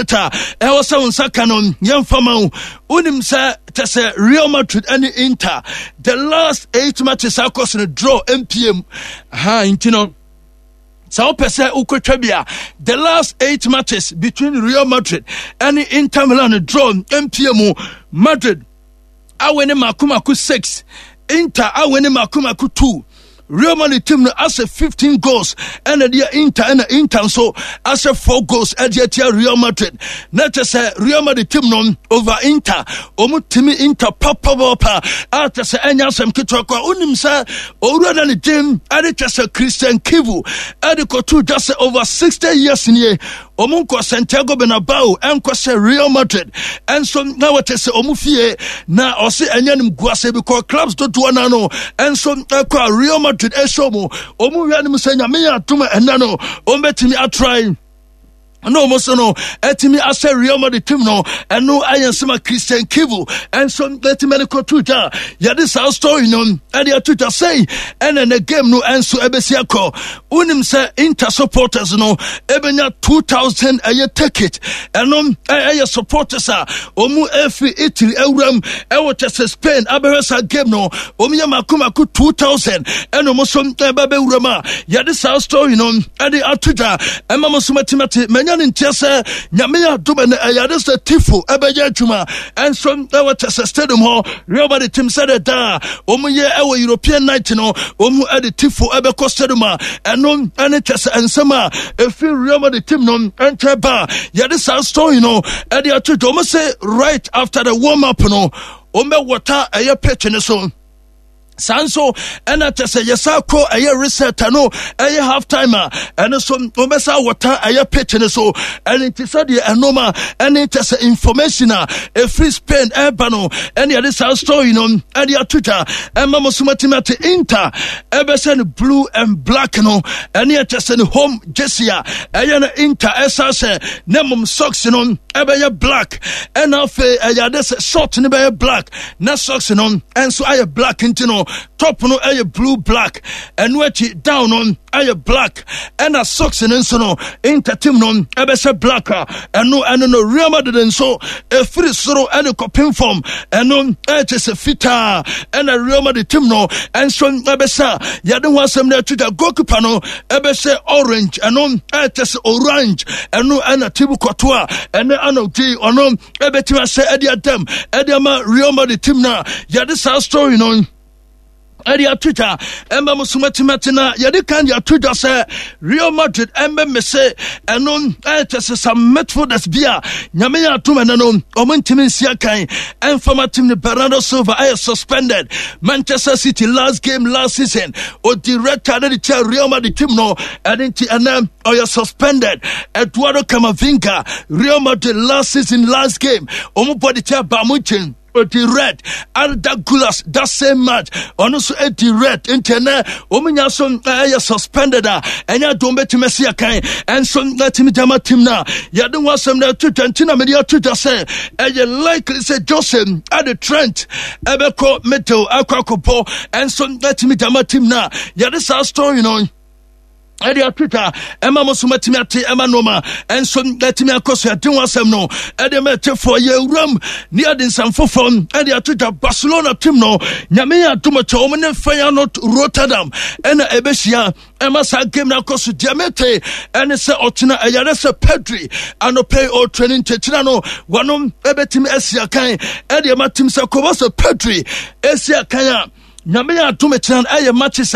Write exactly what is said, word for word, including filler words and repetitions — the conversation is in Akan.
Ta ɛwɔ sɛ wo nsa ka no, yɛmfa ma wo. Wonim sɛ kyɛ sɛ Real Madrid ne Inter, the last eight matches akɔ so no, draw mpm ha. Nti no sɛ wopɛ sɛ wokɔtwa bi a, the last eight matches between Real Madrid ne Inter Milan, draw mpm mu. Madrid awin mako mako six, Inter awin mako mako two. Real Madrid team no asɛ fifteen goals ɛna deɛ Inter, ɛna Inter nso asɛ four goals ɛde atia Real Madrid. Na kyɛ sɛ Real Madrid team no over Inter, wɔn timi Inter papapapa a kyɛ sɛ ɛnyɛ asɛm ketewa kɔ. Wonim sɛ owura na ne din ɛde kyɛ sɛ Christian Chivu ɛde kɔto dwa sɛ over sixty years nie, wɔn nkɔ Santiago Bernabeu ɛnkɔ sɛ Real Madrid ɛnso na wɔte sɛ wɔn fie, na ɔse ɛnyɛ nim guase because clubs dodoɔ na no ɛnso ɛkɔ a Real Madrid ɛhyɛ mu wɔn wia no mu sɛ Nyame yɛ adom ɛnɛ no wɔn bɛtumi atry na wɔn nso no ɛtumi ahyɛ Real Madrid team no. Ɛno ayɛ nsɛm a Christian Chivu ɛnso ɛtumi ɛde kɔto dwa. Yɛde saa story no ɛde ato dwa sɛi, ɛna ne game no ɛnso ɛbɛsi akɔ. Wonim sɛ Inter supporters no ɛbɛnya two thousand ɛyɛ ticket. Ɛno ɛyɛ supporters a wɔn ɛfiri Italy awuram ɛwɔ kyɛ sɛ Spain abɛhwɛ saa game no. Wɔn yɛ mako mako two thousand, ɛna wɔn nso ɛbɛ bɛwuram a yɛde saa story no ɛde ato dwa. Ɛma mo nso matimate manya ne nteɛ sɛ Nyame yɛ adom ɛnɛ, ɛyɛ ade sɛ tifo ɛbɛyɛ adwuma ɛnso ɛwɔ kyɛ sɛ stadium hɔ. Real Madrid team sɛdeɛ daa wɔn yɛ ɛwɔ European night no, wɔn ɛde tifo ɛbɛkɔ stadium a ɛno ɛne kyɛ sɛ nsɛm a ɛfiri Real Madrid team no ɛnkyɛn ba. Yɛde saa story no ɛde ato dwa. Wɔn sɛ right after the warm up no, wɔn bɛ wɔta ɛyɛ pitch no so. Saa nso ɛna kyɛ sɛ yɛsa kɔ ɛyɛ reset no, ɛyɛ half time a, ɛno so wɔbɛsa wɔta ɛyɛ pitch no so. Ɛne nti sɛdeɛ ɛnom a ɛne kyɛ sɛ information a ɛfiri Spain ɛreba no, ɛne yɛde saa story no ɛde ato dwa ɛma mo so matumi ate. Inter ɛbɛsɛ no blue and black no, ɛne ɛkyɛ sɛ ne home jersey a ɛyɛ no Inter ɛsa sɛ ne mmom socks no ɛbɛyɛ black, ɛna afei ɛyɛ ade sɛ short no bɛyɛ black na socks no ɛnso ayɛ black. Nti no top no ɛyɛ blue black, ɛno akyi down no ɛyɛ black, ɛna socks no nso no Inter team no ɛbɛhyɛ black a ɛno ɛno no Real Madrid nso ɛfiri soro ɛne kɔpem fam, ɛno ɛkyɛ sɛ fitaa, ɛna Real Madrid team no ɛnso ɛbɛhyɛ. Yɛde ho asɛm no atwitwa. Goalkeeper no ɛbɛhyɛ orange, ɛno ɛkyɛ sɛ orange, ɛno ɛna Thibaut Courtois ɛne anɔgye ɔno ɛbɛtumi ahyɛ ɛde adam ɛde ama Real Madrid team no a yɛde saa story no ɛde ato dwa ɛma mo so matimate. Na yɛde kan de ato dwa sɛ Real Madrid ɛmbɛ mese ɛno ɛkyɛ sɛ some midfielders bi a Nyame yɛ atom ɛnɛ no ɔmo ntumi nsi akan ɛmfama team no. Bernardo Silva ɛyɛ suspended. Manchester City last game last season, ɔdi red card de kyɛ Real Madrid team no, ɛne nti ɛnɛ ɔyɛ suspended. Eduardo Camavinga, Real Madrid last season last game, ɔmo bɔ de kyɛ Bayern Munchen, ɔdi red. Arda Guler, that same match, ɔno nso edi red, nti ɛnɛ wɔn nya so ɛyɛ suspended a ɛnyɛ adom bɛtumi asi akan ɛnso ɛtumi gyama team no a yɛde ho asɛm no ɛto dwa. Nti na mede ato dwa sɛ ɛyɛ likely sɛ Jose ɛde Trent ɛbɛkɔ middle akɔ akɔbɔ ɛnso ɛtumi gyama team no a yɛde saa story no ɛde ato dwa ɛma mo so matumi ate, ɛma nnoɔma ɛnso atumi akɔ so. Ɛde ho asɛm no ɛde ma ɛtefoɔ. Yɛwuram ne yɛde nsɛm foforɔ ɛde ato dwa. Barcelona team no, Nyame yɛ adom kyɛ wɔn ne Feyenoord Rotterdam ɛna ɛbɛhyia ɛma saa game no akɔ so. Deɛ mete ɛne sɛ ɔkyena ɛyare sɛ Pedri anɔpɛ ɔtraining nkyɛkyerɛ no wɔnom ɛbɛtumi asi akan ɛde ɛma team sɛ kɔbɔ sɛ Pedri asi akan a, Nyame yɛ adom kyerɛ no ɛyɛ matches.